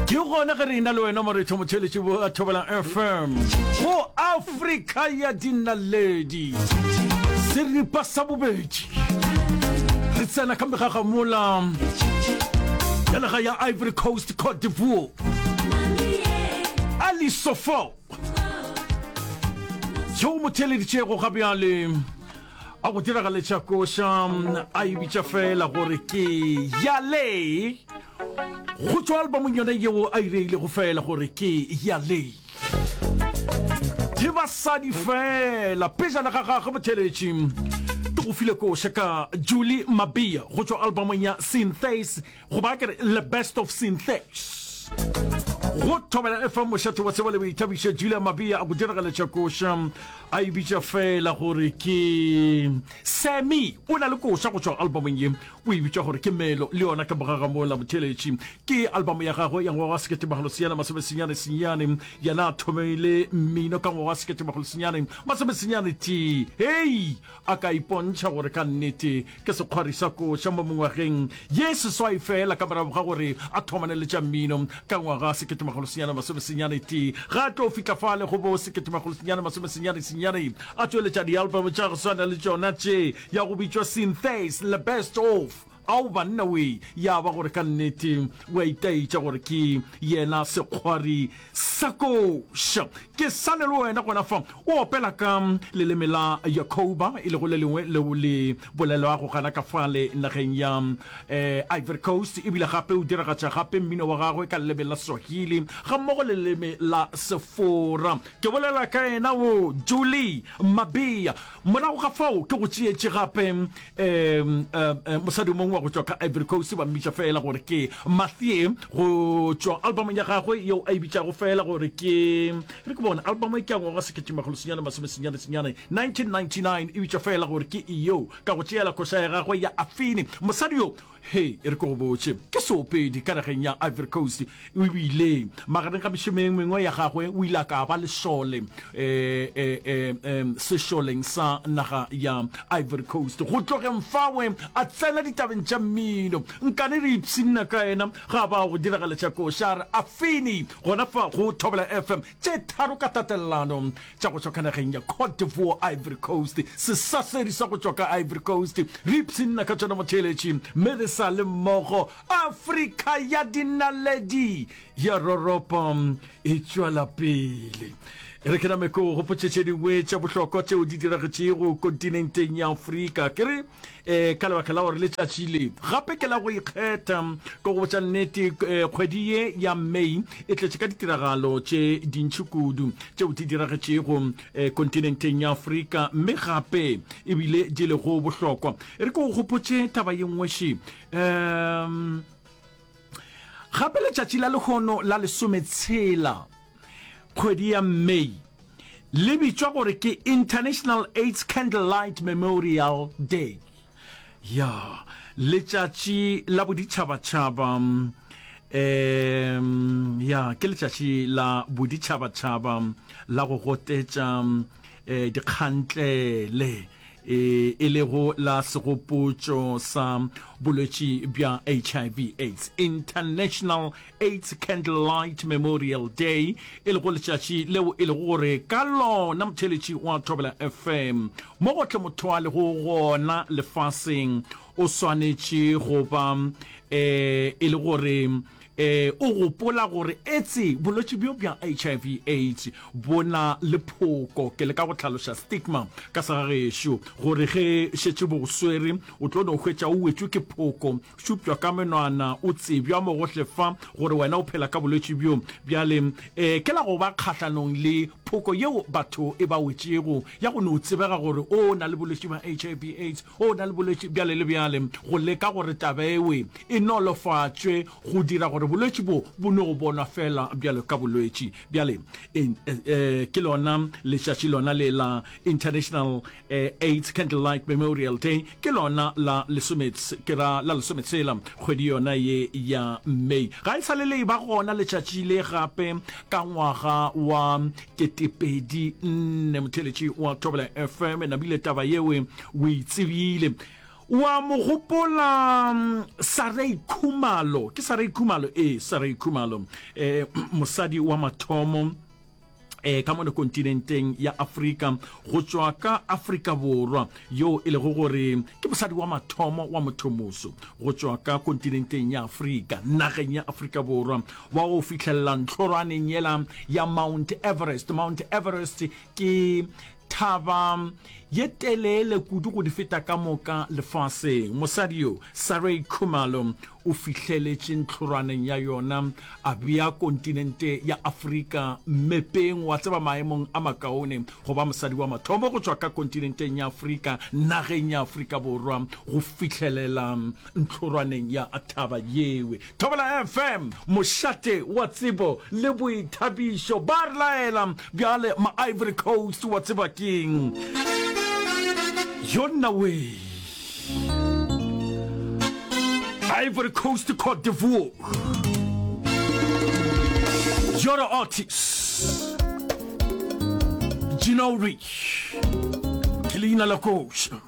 Ke gona ge re ena le wena moretho motheletši wa Thobela FM go Afrika ya dinaledi. Seripa sa bobedi. Re tsena ka megagamola ya naga ya Ivory Coast, Cote d'Ivoire. Ali Sofo yo mo theeleditšego ga bjale a go diragaletša koša a e bitša fela gore ke yale go tšwa albamong yona yeo a ireilego fela gore ke yale ke basadi fela pejana ga gagwe motheletši ke go file koša ka Julie Mabia go tšwa albamong ya Synthase goba ke re the best of Synthase go Thobela FM mošate wa tsebo le boithabišo Julia Mabia a go diragaletša koša a e bitša fela gore ke Sammy o na le koša go tšwa albumong ye o e bitša gore ke Melo le yona ka morago ga mola motheletši ke album ya gagwe ya ngwaga wa 1999 yena a thomile mmino ka ngwaga wa 1993 hei a ka ipontšha gore ka nnete ke sekgwari sa koša mo mengwageng ye seswai feela ka morago ga gore a thomane le tša mmino ka ngwaga 1991. Ga a tlo fihla fale go bo 1999 a tšweletša dialbum tša go swana le tšona tše ya go bitšwa Synthase le Best Of. Ao banna wee, ya ba gore ka nnete o a itaetša gore ke yena sekgwari sa koša. Ke sa le le wena gona fa, o opela ka leleme la Yakoba, e lego le lengwe leo le bolelwago gana ka fale nageng ya Ivory Coast, ebile gape o diragatša gape mmino wa gagwe ka leleme la Swahili gammogo le leleme la Sefora. Ke bolela ka yena wo Julie Mabea. Morago ga fao ke go tšeetše gape um, um, mosadi o mongwe wa go tšwa ka Ivory Coast, ba mmitša feela gore ke Mathie, go tšwa albumong ya gagwe yeo a e bitšago feela gore ke, re ke bone, album e ke ya ngwaga 1999, 1999, e bitšwa feela gore ke Iyo, ka go tšeela koša ya gagwe ya Afini. Mosadi yo Hei, e re ke go botše, ke seopedi ka nageng ya Ivory Coast. O bile, magareng ga mešomo e mengwe ya gagwe, o ile a ka ba lešole e, e, e, e, sešoleng sa naga ya Ivory Coast. Go tlogeng fawe, a tsena ditabeng tša mmino. Nkane re ipshinna ka yena ga ba go diragaletša koša, a re, Afini, gona fa go Thobela FM, tše tharo ka tatelelano. tša go tšwa ka nageng ya Cote d'Ivoire, Ivory Coast, sesasedi sa go tšwa ka Ivory Coast. Re ipshinna ka tšona motheeletši, mme re sa le mmogo. Afrika ya dinaledi ya roropa e tšwela pele. E re ke name ke go gopotše tše dingwe tša bohlokwa tšeo di diragetšego kontinenteng ya Afrika. Ke re um ka lebaka la gore letšatši le gape ke la go ikgetha, ke go botša nnete, um kgwedi ye ya May e tletše ka ditiragalo tše dintši kudu tšeo di diragetšego um kontinenteng ya Afrika, mme gape ebile di lego bohlokwa. E re ke go gopotše taba ye nngwe še. Um gape letšatši la lehono la lesometshela kgwedi ya May le bitšwa gore ke International AIDS Candlelight Memorial Day. Ya, letšatši la boditšhabatšhaba, um ya, ke letšatši la boditšhabatšhaba la go gotetša um dikgantlele, e, e lego la segopotšo sa bolwetši bja HIV AIDS. International AIDS Candlelight Memorial Day, e lego letšatši leo e lego gore ka lona motheeletši wa Thobela FM mo gohle motho a lego gona lefaseng o swanetše go ba um e le gore um o gopola gore etse bolwetši bjo bja HIV AIDS bo na le phoko. Ke leka go hlaloša stigma ka segagešo gore ge šetše bo go swere o tlo no hwetša o wetšwe ke phoko šupšwa ka menwana, o tsebja mo gohle fa gore wena o phela ka bolwetši bjo. Bjale, e, ke la go ba kgahlanong le phoko yeo batho e ba wetšego, ya go no tsebega gore o na le bolwetši bja HIV, AIDS, o na le bolwetši bjale le bjale, go leka gore taba ewe e nolofatšwe, go dira gore bolwetši bo bo no bonwa feela bjalo ka bolwetši. Bjale, e, e, ke lona letšatši lona le la International AIDS Candlelight Memorial Day, ke lona la lesome, ke ra la lesometshela kgwedi yona ye ya May. Ga e sa le le eba gona letšatši le gape ka ngwaga wa 2004. Motheeletši wa Thobela FM, namile taba yewe o e tsebile. Wa mo gopola Sarai Khumalo? Ke Sarai Khumalo? Ee, Sarai Khumalo, eh, mosadi wa mathomo eh, ka mono kontinenteng ya Afrika go tšwa ka Afrika Borwa, yo e lego gore ke mosadi wa mathomo wa mothomoso go tšwa ka kontinenteng ya Afrika, nageng ya Afrika Borwa, wa go fihlelela ntlhorwaneng yela ya Mount Everest. Mount Everest ke Thaba ye telele kudu go di feta ka moka lefaseng. Mosadi yo, Sarai Khumalo, o fihleletše ntlhorwaneng ya yona, a bea kontinente ya Afrika mmepeng, wa tseba, maemong a makaone go ba mosadi wa mathomo go tšwa ka kontinenteng ya Afrika, nageng ya Afrika Borwa, go fihlelela ntlhorwaneng ya thaba yewe. Thobela FM, mošate wa tsebo le boithabišo. Ba re laela bjale ma Ivory Coast, wa tseba keng? Yonna we. Ivory Coast, Cote d'Ivoire. Yoro Otis. Gino Rich. Ke leina la koša.